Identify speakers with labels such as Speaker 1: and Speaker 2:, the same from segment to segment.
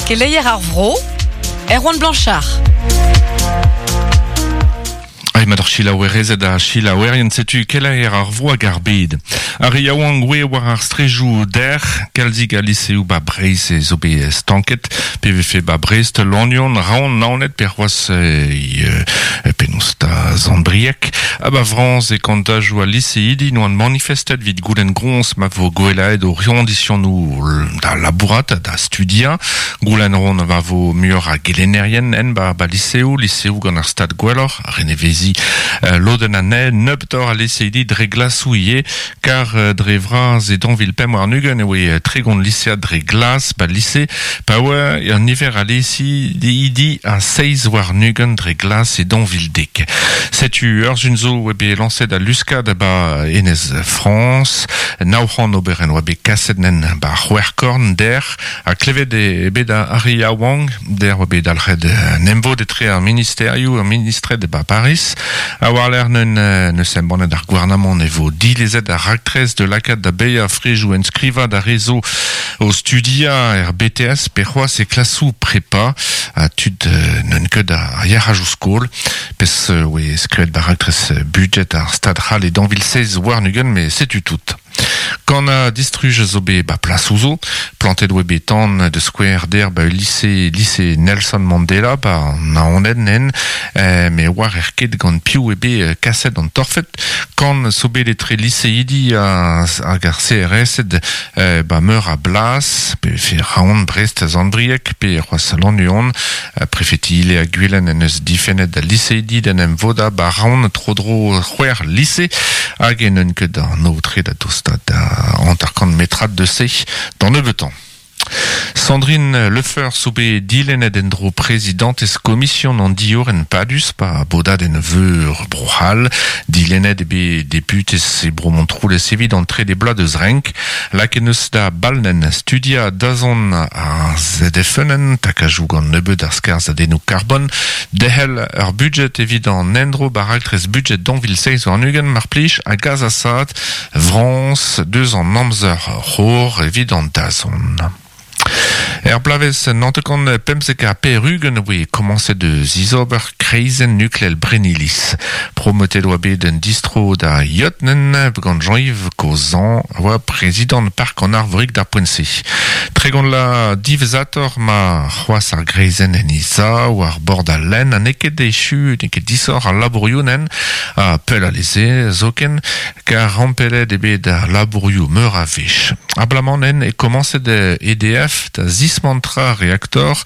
Speaker 1: Keleier ar vro, Erwan Blanchard.
Speaker 2: Ai mat ar selaouerezed ha selaouerien, setu keleier ar vro hag ar bed. Ar re yaouank oe war ar strejoù dec'h, kalzik a liseoù ba Breizh e zo bet stanket, pe vefe ba Brest, Lannion, Raon, Naoned pe c'hoazh e penaos da Sant-Brieg. Ha ba Frañs e kantajoù al liseidi n'oant manifestet evit goulenn groñs ma vo gwelaet o c'hoñdisionoù da labourat, da studiañ. Goulenn ran ma vo muioc'h a gelennerien en ba ba liseoù, liseoù gant ar stad gwelloc'h, reneveziñ lodenn anezhe, nebeutoc'h a liseidi dre glasoù ivez, kar dre vras e 2025 e oe 30 lisead dre glas ba lise, pa oa an niver a liseidi a 27 dre glas e 2010. Setu ur sun zo oa bet lañset al luskad ba Enez Frañs, 900 oberenn oa bet kaset nen ba c'hwec'hkorn dec'h, Ha klevet eo bet ar re yaouank, dec'h oa bet dalc'het un emvod etre ar ministerioù, ar ministred e ba Pariz. Ha war-lerc'h neun neus embannet ar gouarnamant e vo dilezet ar raktres da lakaat da baeañ frejoù enskrivañ d'ar re zo o studiañ er BTS pe c'hoazh e klasoù prepa ha tud n'eun ket ar yac'hajoù skol. Pezh oe skrivet ba raktres budjet ar Stad c'hall e 2027 met setu tout. Kanañ distruj zo bet ba plasoù zo. Plantet oa bet tan da skouer der ba lise lise Nelson Mandela ba an Naoned nen me oar er ket gant piv eo bet kaset an torfed. Kan zo bet etre liseidi hag ar CRS-ed ba meur a blas, pe vefe Raon, Brest, Sant-Brieg pe c'hoazh Lannuon. Prefeti Ile ha Gwilen en deus difennet al liseidi d'en em vodañ ba Raon tro-dro c'hwec'h lise hag en un ket an aotre da dostaat da 50 metrad deus se d'an nebeutañ. Sandrine Lefeur zo bet dilennet en-dro prezidantez komision an diorren padus pa bodadenn veur Bro-C'hall. Dilennet eo bet deputez e Bro Montroulez evit an trede bloaz deus renk. Lakaet 'neus da ballenn studiañ dazont ar ZFN, takajoù gant nebeut ar skarzhadennoù karbon, derc'hel ur budjed evit an endro ba raktres budjed 2027 mar plij hag azasaat Frañs deus an amzer c'hor evit an dazont. Er bloavezh 1995 e voe komañset eus izober kreizenn nukleel Brenniliz. Prometet oa bet un distro da Yotnen gant Jean-Yves Cozan, a oa prezidant Park an Arvorig d'ar poent-se. 30 la diwezhatoc'h ma c'hoazh ar greizenn en he sav war bord al lenn ha n'eo ket echu, n'eo ket disoc'h al labourioù nen, ha pell alese zoken. Kar rampelet eo bet ar labourioù meur a wech. Abalamour e komañset EDF da zismantrañ reaktor,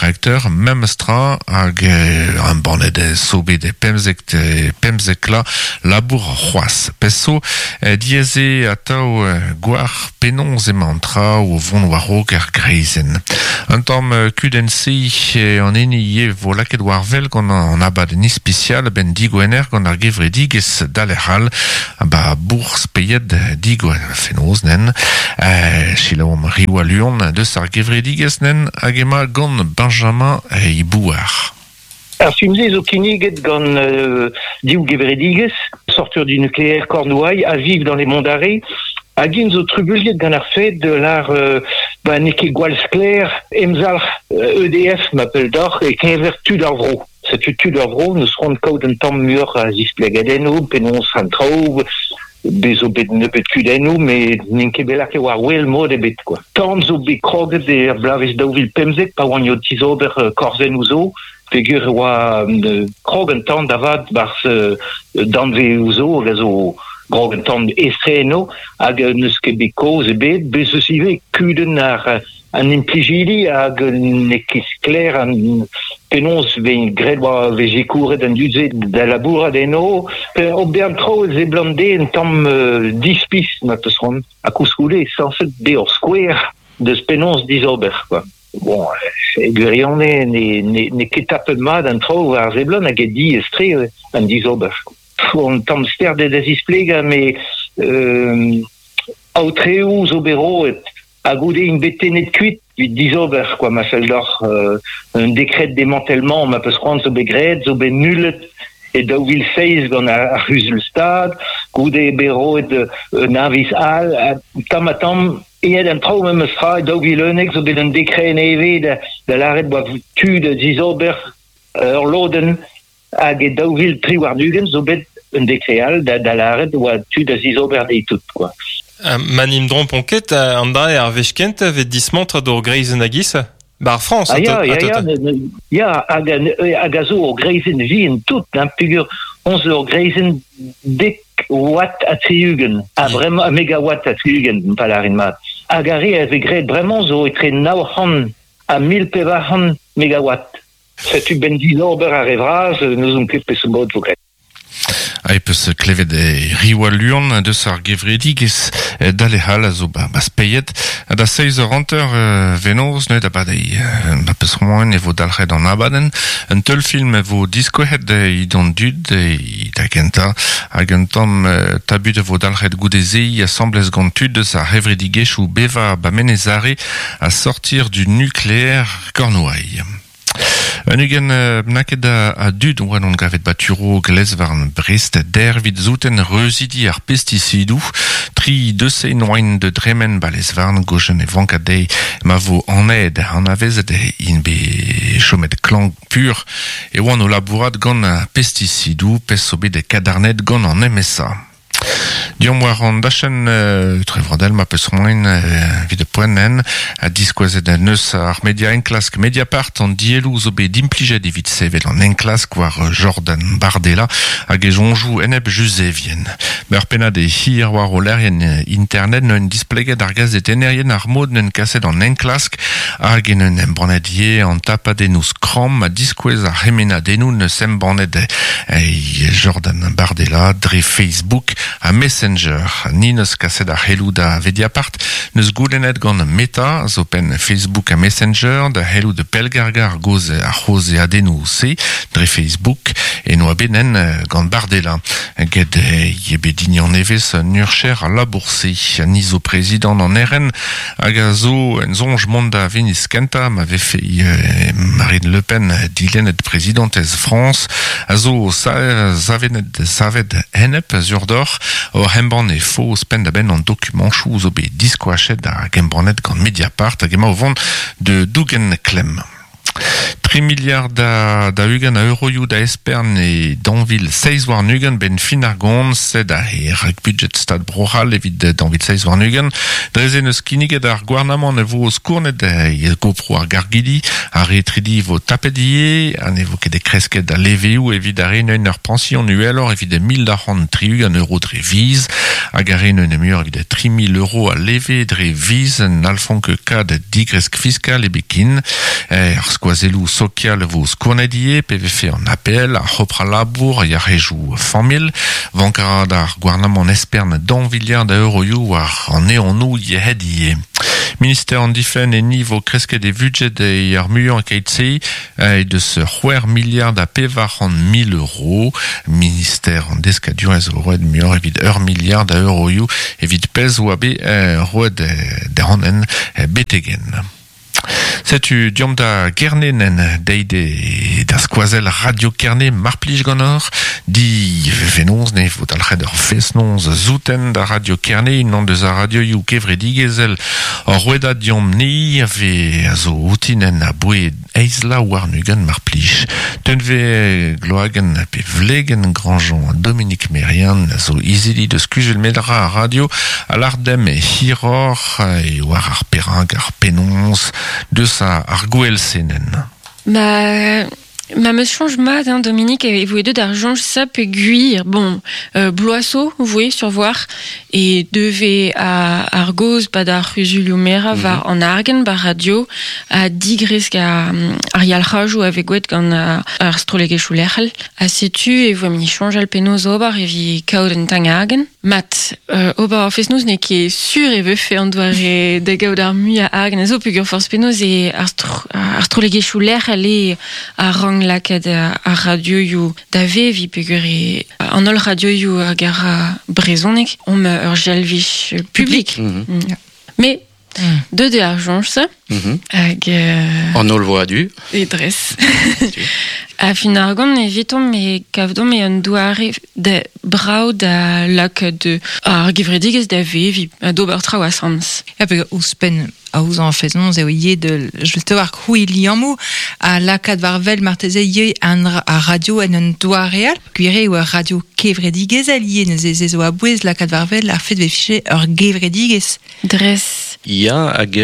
Speaker 2: reakteur memes tra hag embannet zo bet 15 pemzek la labour c'hoazh. Pezh zo diaes eo atav goar penaos emañ an traoù o vont war-raok er greizenn. Un tamm kudenn-se an hini ivez vo lakaet war-wel gant an abadenn ispisial a-benn digwener gant ar gevredigezh Dalec'h all ba bourzh Peiet digwener fenoz nen. Selaouomp Riwa Luon deus ar gevredigezh nen hag emañ gant Benjamin Ibouar.
Speaker 3: Ar film-se zo kinniget gant div gevredigezh, Sortir du nucléaire Cornouailles ha Vivre dans les Monts d'Arrée, hag int zo trubuilhet gant ar fed de lar ba n'eo ket gwall sklaer emzalc'h EDF ma pell deoc'h e-keñver tud ar vro. Setu tud ar vro n'eus c'hoant kaout un tamm muioc'h a zisplegadennoù penaos an traoù bez zo bet nebeut kudennoù met n'int ket bet lakaet war wel mod ebet quoi. Tan zo bet kroget er bloavezh 2015 pa oan o tizober korzennoù zo peogwir e oa krog an tan da vat 'barzh danvezoù zo hag a zo krog an tan estre eno hag n'eus ket bet kaoz ebet bez eus ivez kudenn ar an implijidi hag n'eo ket sklaer an penaos vez graet war vez sikouret an dud-se da labourat eno. Ober an traoù e seblant dezhe un tamm dispis ma peus c'hoant. Ha koulskoude sañset bezañ ur skouer deus penaos dizober quoi. Bon, e gwirionez n'eo ket tapet mat an traoù war seblant hag eo diaes-tre an dizober. Un tamm sterdet da zisplegañ met aotreoù zo bet roet Ha goude int bet tennet kuit evit dizober quoi ma fell deoc'h un dekred démantèlement ma peus c'hoant zo bet graet zo bet nullet e 2007 gant ar c'huzul-stad goude bet roet un aviz all tamm ha tamm. Eet an traoù memes tra, 2011 zo bet un dekred nevez da lâret 'oa tu da zizober ur lodenn hag e 2023 zo bet un dekred all da lâret 'oa tu da zizober dezhe tout quoi.
Speaker 4: Ma n'im drompon ket, an dra eo ar wech kentañ 'vez dismantret ur greizenn a-giz 'bar Frañs.
Speaker 3: Ah ya, ya, ya, ya, hag a zo ur greizenn vihan tout, hein, peogwir on zo ur greizenn dek watt ha 60, ha bremañ megawatt ha 60, pa lârin mat. Hag ar re a vez graet bremañ zo etre 900 ha 1400 megawatt. Setu 'benn dizober ar re vras, n'ouzon ket peseurt mod 'vo graet.
Speaker 2: Ha e peus klevet Riwa Luan deus ar gevredigezh Dale-Hall a zo ba Speied. Ha da seizh eur hanter venoz neuze da badeiñ ma peus c'hoant e vo dalc'het an abadenn. Un teulfilm e vo diskouezet d'an dud da gentañ hag un tamm tabut a vo dalc'het goude-se asambles gant tud eus ar c'hevredigezhioù bevañ ba Menez-Are ha sortir du nucléaire Cornouailles. Un ugent bennaket a dud oa en gavet ba Turo Glezvarn Brest dervit zouten reuzidi ar pestisidoù. Tri deus noain de dremen ba lezvarn gojen e vanka dezhe ma vo an ed anavezet int bet chomet klank pur e oant o labourat gant pestisidoù pezh zo bet kadarnet gant an MSA. Deomp war an dachenn trevrodel ma peus c'hoant evit poent en ha diskouezet neus ar media enklask Mediapart an dielloù zo bet implijet evit sevel an enklask war Jordan Bardella hag e soñjoù enep Juzevien. Ur pennad e hir war o lec'hienn internet neun displeget ar gazetennerien ar mod neun kaset an enklask hag en un embannet ivez an tapadennoù skramm ha diskouez ar c'hemennadennoù neus embannet Jordan Bardella dre Facebook ha Messenger. Ni neus kaset ar c'heloù da Vediapart neus goulennet gant Meta zo penn Facebook ha Messenger da c'helloù da pellgargañ ar goz ar c'hozeadennoù-se dre Facebook e noa bet nen gant Bardella. Get eo bet dignan nevez un urcher a labour-se. Ni zo prezidant an RN hag a zo en soñj mont da Veniz kentañ ma vefe Marine Le Pen dilennet prezidantez Frañs a zo savenet savet enep sur-doc'h oc'h embann e faos penn-da-benn an dokumanchoù zo bet diskoachet hag embannet gant Mediapart hag emañ o vont de dougen klemm. Tri miliard da ugent a euroioù da espern e 2027 benn fin ar gont, sed aze rak-budget Stad Bro-C'hall evit 2027. Dre-se neus kinniget ar gouarnamant e vo skournet e gopro ar gargidi, ar re tridi vo tapet ivez, ha ne vo ket kresket al leveoù evit ar re neun ur pañsion uheloc'h evit 1260 euro dre viz, hag ar re neun muioc'h evit 3000 euro a leve dre viz n'hallfont ket kad digresk fiskal ebet ken. Ar skoazelloù sokial vo skournet ivez, pe vefe an APL, ar c'hopr al labour, yac'hejoù familh. Vank a ra d'ar gouarnamant espern daou viliard a euroioù war an eonoù yec'hed ivez. Minister an difenn enni vo kresket e vudjed e ar muiañ keit-se e deus c'hwec'h miliard ha 400 000 euro. Minister an deskadurezh vo roet muioc'h evit ur miliard a euroioù evit pezh oa bet roet dezhañ en betegen. Setu deomp da Gerne deit da skoazell Radio Kerne mar plij ganeoc'h di venoz ne vo dalc'het ur fest-noz zouten da Radio Kerne unan deus ar radioioù kevredigezhel ur rouedad deomp ni a vez a zo outinen aboe eizh la warn-ugent mar plij. Tenve Gloagen pe Vlegen Grandjean Dominique Merian a zo izili deus kuzul medra ar radio a lar demp hiroc'h e war ar perak ar penaos deus ar gouel senen.
Speaker 5: Ma meus soñj mat, hein, Dominique, e voe deuet ar soñj sa peogwir, bon, bloaz zo, voe survoir, e deve ar gaoz 'pad ar c'huzulioù-merañ war an argent 'bar radio ha digresk ar yalc'hajoù a vez gwelet gant ar strollegezhioù lec'hel. Ha setu e voe mini soñjal penaos ober evit kaout un tamm argent. Mat, ober ar fest-noz n'eo ket sur e vefe an doare da gaout ar muiañ argent a zo peogwir forzh penaos eo ar strollegezhioù lec'hel eo a rank lakaat ar radioioù da veviñ peogwir eo an holl radioioù hag ar brezhoneg omp ur servij publik. Mais deuet eo ar soñj-se. Hag...
Speaker 6: An ol vo adu.
Speaker 5: E dres. A fin argant evitomp e kavdomp e an doare da brao da lak de ar gevredigez da vevi, a d'ober traoù asams.
Speaker 7: Ya pe ouzhpenn aozañ an fest-noz eo ivez de just war krouiñ liammoù ha lakaat war wel marteze ivez an ar radio en un doare all. Gwir eo ur radio kevredigezhel ivez neuze se zo a-bouez lakaat war wel ar fed vefe ur gevredigezh.
Speaker 5: Dres.
Speaker 6: Ya hag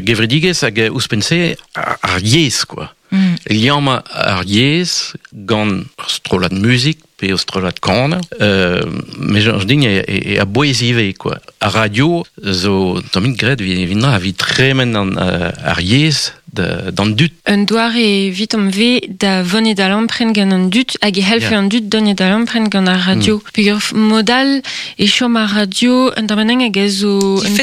Speaker 6: gevredigezh hag ouzhpenn-se ar yezh quoi. Liammañ ar yezh gant ur strollad muzik pe ur strollad kaner, me soñj din e a-bouez ivez quoi. Ar radio zo tammig graet evit evit tremen an ar yezh d'an dud.
Speaker 5: Un doare evitomp ve da vonet da lampren gant an dud hag e c'hellfe an dud donet da lampren gant ar radio. Peogwir mod all e chom ar radio un tamm hag a zo un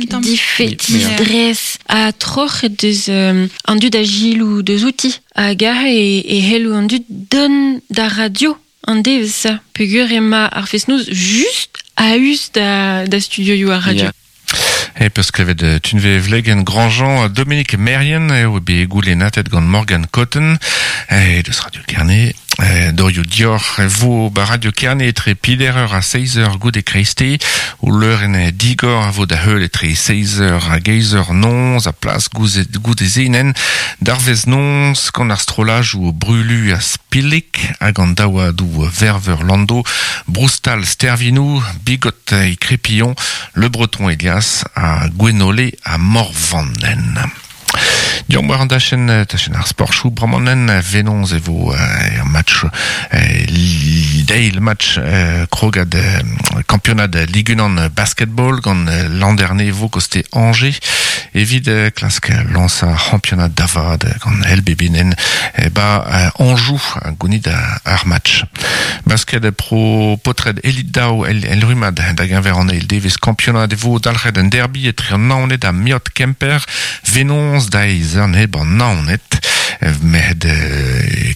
Speaker 5: tamm difetis, dres ha troc'het deus an dud a gilou deus outi hag aze e c'hello an dud dont d'ar radio an devezh peogwir ema ar fest-noz just a-us da studioioù ar radio.
Speaker 2: E peus klevet Tunve Vlegen Grandjean Dominique Merien eo bet goulennatet gant Morgan Cotton e deus Radio Kerne dorioù dioc'h e vo ba Radio Kerne etre pider eur ha seiz eur goude kreiste o leurenn digor a vo da heul etre seiz eur hag eizh eur noz a plas goude zenen d'ar vez noz gant ar strollajoù Brulu ha Spillik hag an daouadoù Verveur Lando Broustal Stervinou Bigot e Crépillon Le Breton Elias ha Gwenole ha Morvannen. Diomp war an dachenn tachenn ar sportchoù bremañ venoz e vo ur match deil match krogad kampionad Ligue 1 basketball gant Landerne vo koste Angers evit klask lañsañ ar c'hampionad da vat gant LBB-nen ba Anjou gounit ar match. Basket pro potred Elite Daou el rummad da geñver an eil devezh kampionad e vo dalc'het un derby etre an Naoned ha Miot Kemper venoz da eizh eur neb an Naoned met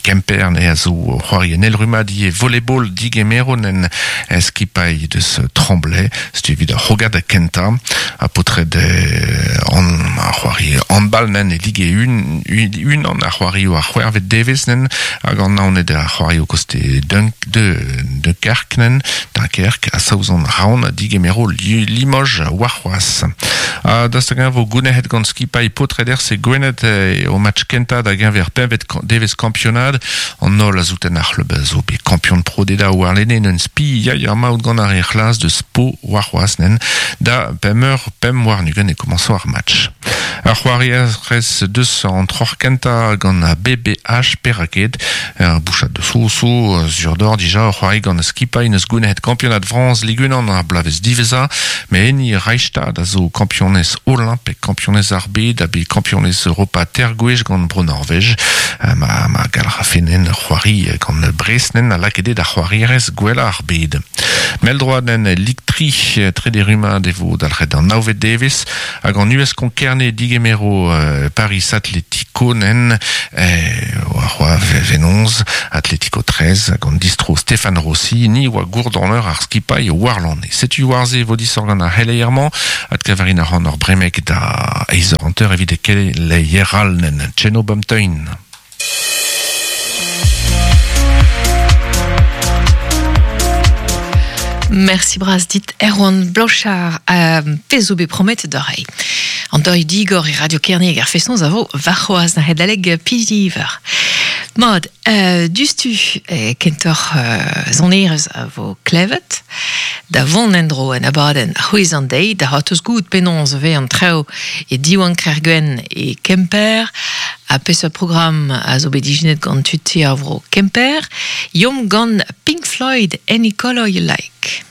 Speaker 2: Kemper ne a zo c'hoari en el rummad ivez volleyball digemero nen skipailh deus Tremblay setu evit ar c'hrogad kentañ ha potred an ar c'hoari handball nen e Ligue unan ar c'hoarioù ar c'hwec'hvet devezh nen hag an Naoned ar c'hoarioù koste Dunkerque nen Dunkerque ha Saozon Raon digemero Limoges warc'hoazh. Ha daoust hag-eñ vo gounezet gant skipailh potred RC Gwened o match kentañ da geñver pempvet devezh kampionad an holl a zouten ar c'hlub a zo bet kampion pro deda warlene en un spi ya ya maout gant ar re c'hlas deus Po warc'hoazh nen da pemp eur pemp warn-ugent e komañso ar match. Ar c'hoarierez deus an troc'h kentañ gant BBH Perraket ur bouchad deus so sur d'or dija ur c'hoari gant skipailh neus gounezet kampionad Frañs Ligue 1 ar bloavezh diwezhañ met hini Reichstad a zo kampionez Olymp kampionez ar bed ha bet kampionez Europa teir gwech gant Bro-Norvej ma ma gall rafe nen c'hoari gant Brest nen a lakaet eo da c'hoarierez gwellañ ar bed. Mell-droad nen Ligue tri trede rummad e vo dalc'het an navet devezh hag an US Konkerne digemero Paris Atletico nen war venoz Atletico 13 hag an distro Stéphane Rossi ni oa gourdonneur ar skipailh warlane. Setu war-se vo disoc'h gant ar c'heleier-mañ adkavarin a ran ur bremek da eizh eur hanter evit keleier all nen Tcheno Bumtein.
Speaker 1: Merci bras dit Erwan Blanchard a pezh zo bet prometet da reiñ. An deuil digor e Radio Kerne hag ar fest-noz a vo warc'hoazh da adalek pidiver. Mat, diouzhtu kentoc'h sonerezh a vo klevet da vont en-dro en abadenn c'hwezh an deiz da c'hortoz goût penaos e vez an traoù e Diwan Kergwenn e Kemper ha peseurt programm a zo bet ijinet gant tud ti ar vro Kemper. Yomp gant Pink Floyd, Any Color You Like.